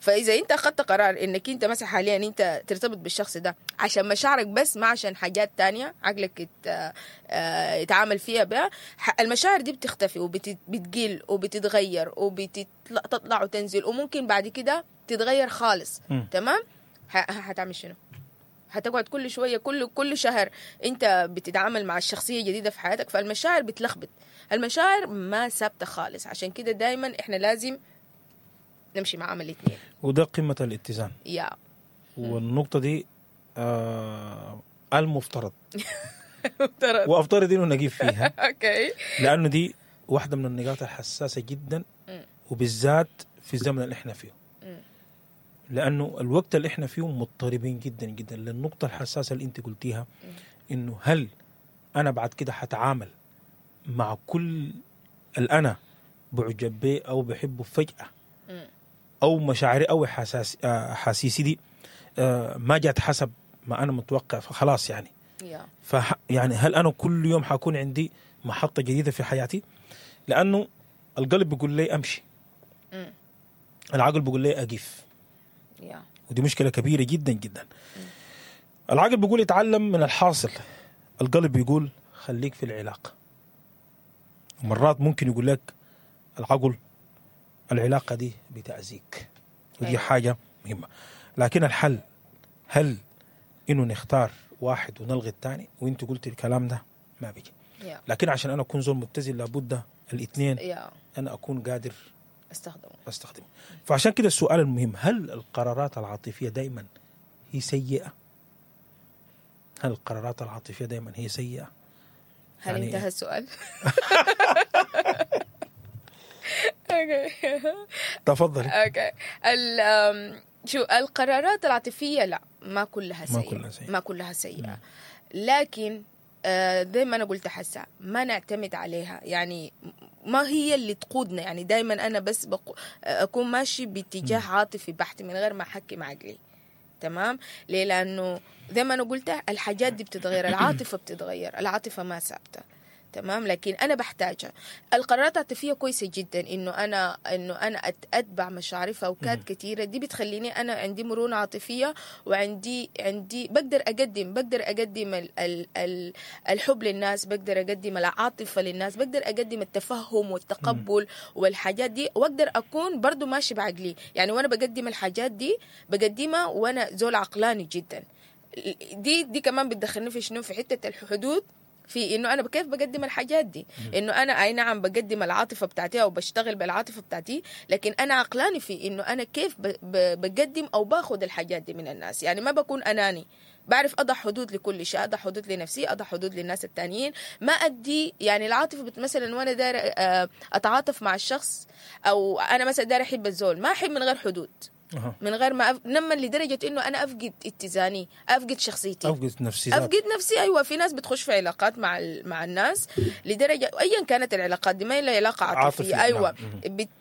فاذا انت اخذت قرار انك انت مثلا حاليا انت ترتبط بالشخص ده عشان مشاعرك بس، ما عشان حاجات تانية عقلك يتعامل فيها بها، المشاعر دي بتختفي وبتقل وبتتغير وبتطلع وتنزل، وممكن بعد كده تتغير خالص. تمام؟ حتعمل شنو؟ هتقعد كل شوية كل شهر انت بتتعامل مع الشخصية جديدة في حياتك، فالمشاعر بتلخبط، المشاعر ما ثابتة خالص. عشان كده دايما احنا لازم نمشي مع الاثنين. وده قمة الاتزان. والنقطة دي المفترض وافترض انه نقيف فيها. okay. لانه دي واحدة من النقاط الحساسة جدا، وبالذات في الزمن اللي احنا فيه، لانه الوقت اللي احنا فيه مضطربين جدا جدا. للنقطة الحساسة اللي انت قلتيها، انه هل انا بعد كده حتعامل مع كل اللي انا بعجب به او بحبه فجاة، او مشاعري او احاسيسي دي ما جات حسب ما انا متوقع، فخلاص يعني يعني هل انا كل يوم حكون عندي محطة جديدة في حياتي؟ لانه القلب بيقول لي امشي، العقل بيقول لي اقف. ودي مشكلة كبيرة جدا جدا. العقل بيقول اتعلم من الحاصل، القلب بيقول خليك في العلاقة. ومرات ممكن يقول لك العقل العلاقة دي بتأذيك، ودي حاجة مهمة. لكن الحل هل انه نختار واحد ونلغي الثاني؟ وانت قلت الكلام ده ما بيجي. لكن عشان انا اكون زول متزن لابد الاثنين انا اكون قادر استخدمه. فعشان كده السؤال المهم، هل القرارات العاطفية دائما هي سيئه؟ هل القرارات العاطفية دائما هي سيئه؟ هل يعني انتهى السؤال؟ okay. تفضلي. okay. شو القرارات العاطفية؟ لا، ما كلها سيئة. ما كلها سيئة. لكن زي ما أنا قلت حسا ما نعتمد عليها، يعني ما هي اللي تقودنا. يعني دايما أنا بس أكون ماشي باتجاه عاطفي بحت من غير ما أحكم عقلي. تمام؟ ليه؟ لأنه زي ما أنا قلت الحاجات دي بتتغير، العاطفة بتتغير، العاطفة ما ثابتة. تمام؟ لكن انا بحتاجها. القرارات العاطفية كويسة جدا، انه انا اتبع مشاعري في اوقات كثيرة. دي بتخليني انا عندي مرونة عاطفية، وعندي عندي بقدر اقدم الحب للناس، بقدر اقدم العاطفة للناس، بقدر اقدم التفهم والتقبل والحاجات دي، واقدر اكون برضو ماشي بعقلي. يعني وانا بقدم الحاجات دي بقدمها وانا زول عقلاني جدا. دي كمان بتدخلني في شنو؟ في حتة الحدود، في انه انا كيف بقدم الحاجات دي. انه انا اي نعم بقدم العاطفة بتاعتي او بشتغل بالعاطفه بتاعتي، لكن انا عقلاني في انه انا كيف بقدم او باخذ الحاجات دي من الناس. يعني ما بكون اناني، بعرف اضع حدود لكل شيء، اضع حدود لنفسي، اضع حدود للناس التانيين. ما ادي يعني العاطفة مثلا وانا داير اتعاطف مع الشخص، او انا مثلا داير احب الزول، ما احب من غير حدود. من غير ما نما لدرجة إنه أنا أفقد اتزاني، أفقد شخصيتي، أفقد نفسي. أيوة، في ناس بتخش في علاقات مع الناس لدرجة أيا كانت العلاقات دي، ما هي علاقة عاطفية. أيوة،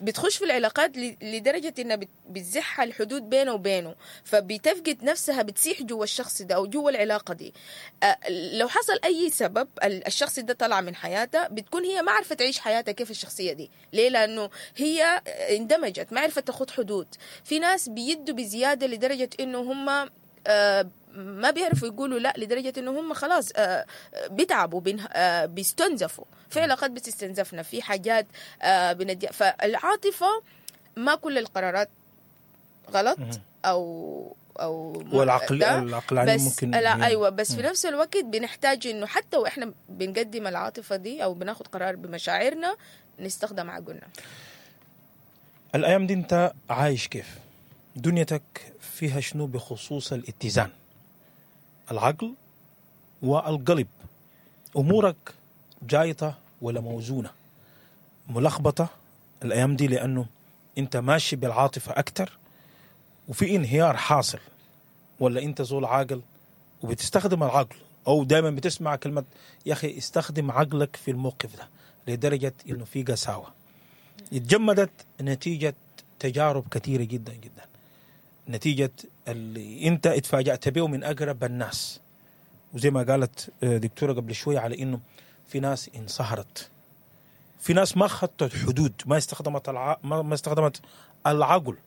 بتخش في العلاقات لدرجة إنها بتزحها الحدود بينه وبينه، فبتفقد نفسها، بتسيح جوا الشخص ده أو جوا العلاقة دي. لو حصل أي سبب الشخص ده طلع من حياتها، بتكون هي ما عرفت تعيش حياتها كيف الشخصية دي. ليه؟ لأنه هي اندمجت، ما عرفت تاخد حدود. في ناس بيدوا بزيادة لدرجة إنه هم ما بيعرفوا يقولوا لا، لدرجة إنه هم خلاص بيتعبوا، بيستنزفوا. في علاقات بتستنزفنا، في حاجات بندي. فالعاطفة ما كل القرارات غلط أو والعقل العقلاني ممكن، لا أيوة، بس في نفس الوقت بنحتاج إنه حتى وإحنا بنقدم العاطفة دي أو بناخد قرار بمشاعرنا نستخدم عقلنا. الأيام دي أنت عايش كيف؟ دنيتك فيها شنو بخصوص الاتزان؟ العقل والقلب، أمورك جايطة ولا موزونة؟ ملخبطة الأيام دي لأنه أنت ماشي بالعاطفة أكتر وفي انهيار حاصل، ولا أنت زول عاقل وبتستخدم العقل، أو دائما بتسمع كلمة يا أخي استخدم عقلك في الموقف ده، لدرجة إنه في قساوة اتجمدت نتيجة تجارب كثيرة جدا جدا، نتيجة اللي انت اتفاجأت به من أقرب الناس. وزي ما قالت دكتورة قبل شوية على انه في ناس انصهرت، في ناس ما خطت حدود، ما استخدمت ما استخدمت العقل.